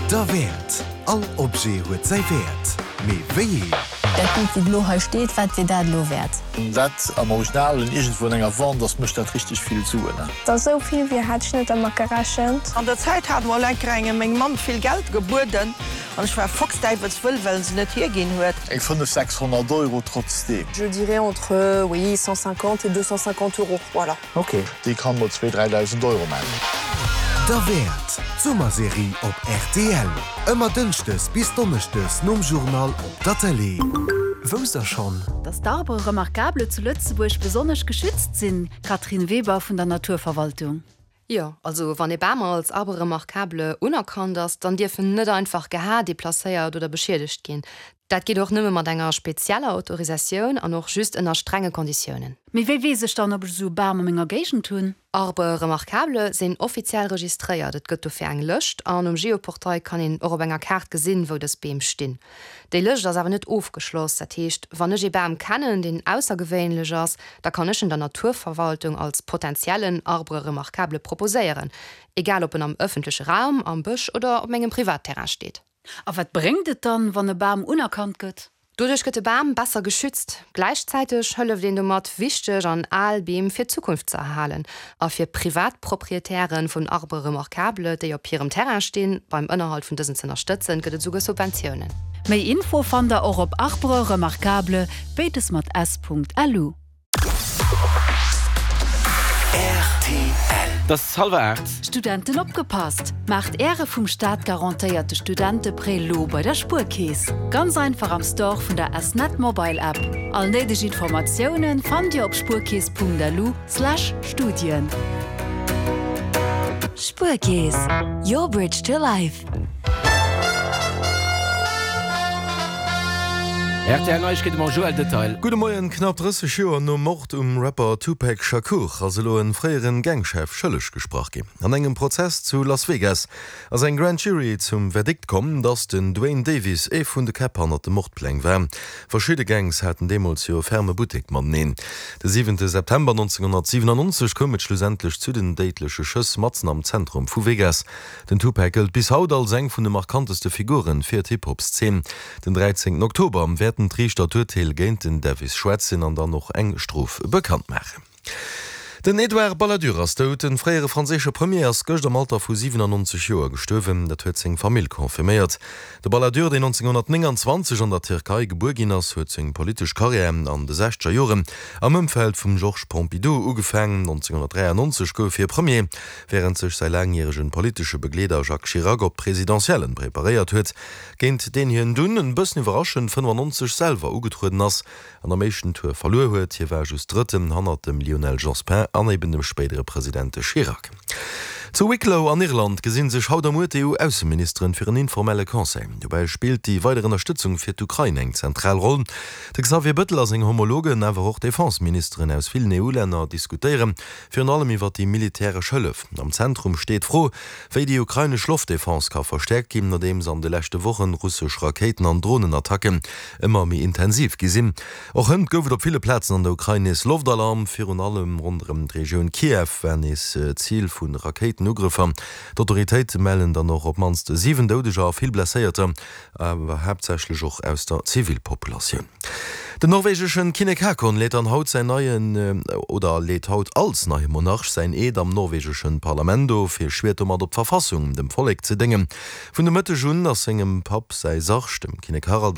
Derwäert! All Objet huet säi Wäert, mee wéi een? Dat Bild wou elo hei steet, wat wier dat elo wäert? Dat am Originalen iergendwou an enger Vente ass, mécht dat richteg vill Suen. Dass esou vill wier, hat ech net dermat gerechent. An der Zäit hat mol enker engem meng Mamm vill Geld gebueden an ech war foxdäiwelswëll, well en se net hierginn huet. Eng 5, 600 Euro trotzdeem. Je dirais entre, oui, 150 et 250 euros, voilà. Ok, déi kann mol zwee, 3.000 Euro man. Derwäert, d'Summerserie op rtl. Ëmmer dënschdes bis donneschdes nom Journal op der Tëlee. Wousst der schonn? Dass d'Arbres remarquables zu Lëtzebuerg besonnesch geschützt sinn, Catherine Weber vun der Naturverwaltung. Jo, also wann ee Bam als Arbre remarquable unerkannt ass, dann dierf en net einfach geha, deplacéiert oder beschiedegt ginn. Dat geet och nëmme mat enger spezieller Autorisatioun an och just ënner strenge Konditiounen. Mee wéi weess ech dann, ob ech esou e Bam a menger Géigend hunn? Arbres remarquables sinn offiziell registréiert, et gëtt dofir eng Lëscht an um Geoportail kann een och op enger Kaart gesinn, wou dës Beem stinn. Déi Lëscht ass awer net ofgeschloss, dat heescht, wann ech ee Bam kennen, deen aussergewéinlech ass, da kann ech en der Naturverwaltung als potentiellen Arbre remarquable proposéieren, egal ob en am ëffentleche Raum, am Bësch oder op mengem Privatterrain steet. A wat bréngt et dann, wann e Bam unerkannt gëtt? Doduerch gëtt de Bam besser geschützt. Gläichzäiteg hëlleft een domat, wichteg an al Beem fir d'Zukunft ze erhalen. A fir privat Proprietären vun Arbres remarquables, déi op hirem Terrain stinn, beim Ënnerhalt vun dësen z'ënnerstëtzen, gëtt et esouguer Subventiounen. Méi Info fannt der och op arbresremarquables, béides mat s.lu. Rtl. Et ass hallwer 8. Studenten opgepasst! Maacht Äre vum Staat garantéierte Studenteprêt lo bei der Spuerkeess. Ganz einfach am Store vun der S-Net Mobile App. All néideg Informatiounen fannt Dir op spuerkeess.lu slash Studien. Spuerkeess, your bridge to life. Rtl Neiegkeete mam Joël Detail. Gudde Moien, Knapp 30 Joer nom Mord um Rapper Tupac Shakur ass elo e fréieren Gangchef schëlleg gesprach ginn. An engem Prozess zu Las Vegas ass eng Grand Jury zum Verdikt komm, dass den Duane Davis ee vun de Käpp hannert de Mordpläng war. Verschidde Gangs haten deemools jo e ferme Buttek mateneen. De siwente September 1997 koum et schlussendlech zu den déidleche Schëss matzen am Zentrum vu Vegas. Den Tupac gëllt bis haut als eng vun de markanteste Figure fir d'Hip-Hop-Szene. Den 13 Oktober wäerten d'Riichter d'Urteel géint den Davis schwätzen an dann och eng Strof bekannt maachen. Den Edouard Balladur ass dout. De fréiere franséische Premier ass gëscht am Alter vu 97 Joer gestuerwen. Dat huet seng Famill confirméiert. De Balladur, deen 1929 an der Tierkei gebuer ginn ass, huet seng politesch Karriär an de sechzeger Joren am Ëmfeld vum Georges Pompidou ugefaangen. 1993 gouf hie Premier. Wärend sech säi laangjäregen politesche Begleeder Jacques Chirac op d'Presidentiellen preparéiert huet, géint deen hien dunn, en bëssen iwwerraschend, 95 selwer ugetrueden ass an am éischten Tour verluer huet, hie war just Drëtten hannert dem Lionel Jospin an eben dem spéidere President Chirac. Zu Wicklow an Irland gesinn sech haut a muer d'EU-Ausseministeren fir en informelle Conseil. Dobäi spillt déi weider Ënnerstëtzung fir d'Ukrain eng zentral Roll. De Xavier Bëttel a seng Homologen, awer och d'Defenseministeren aus villen EU-Länner diskutéieren Virun allem iwwer déi militäresch Hëllef. Am Zentrum steet d'Fro, wéi déi ukrainesch Loftdefense ka verstäerkt ginn, nodeems an de leschte Wochen russesch Rakéiten an Dronenattacken ëmmer méi intensiv gi sinn. Och hënt gouf et op ville Plazen an der Ukrain nees Loftalarm. Virun allem ronderëm d'Regioun Kiew war nees Zil vu Rakéitenugrëffer. D'Autoritéite mellen dann och op d'mannst 7 Doudeger a vill Blesséierter. awer haaptsächlech och aus der Zivilpopulatioun. Den norwegeschen Kinnek Haakon leet dann haut säin neien, oder leet haut als neie Monarch säin Eed am norwegeschen Parlament of. Hie schwiert domat op d'Verfassung, dem Vollek ze déngen. Vun de Mëtteg un ass sengem Papp säi Sarg, dem Kinnek Harald.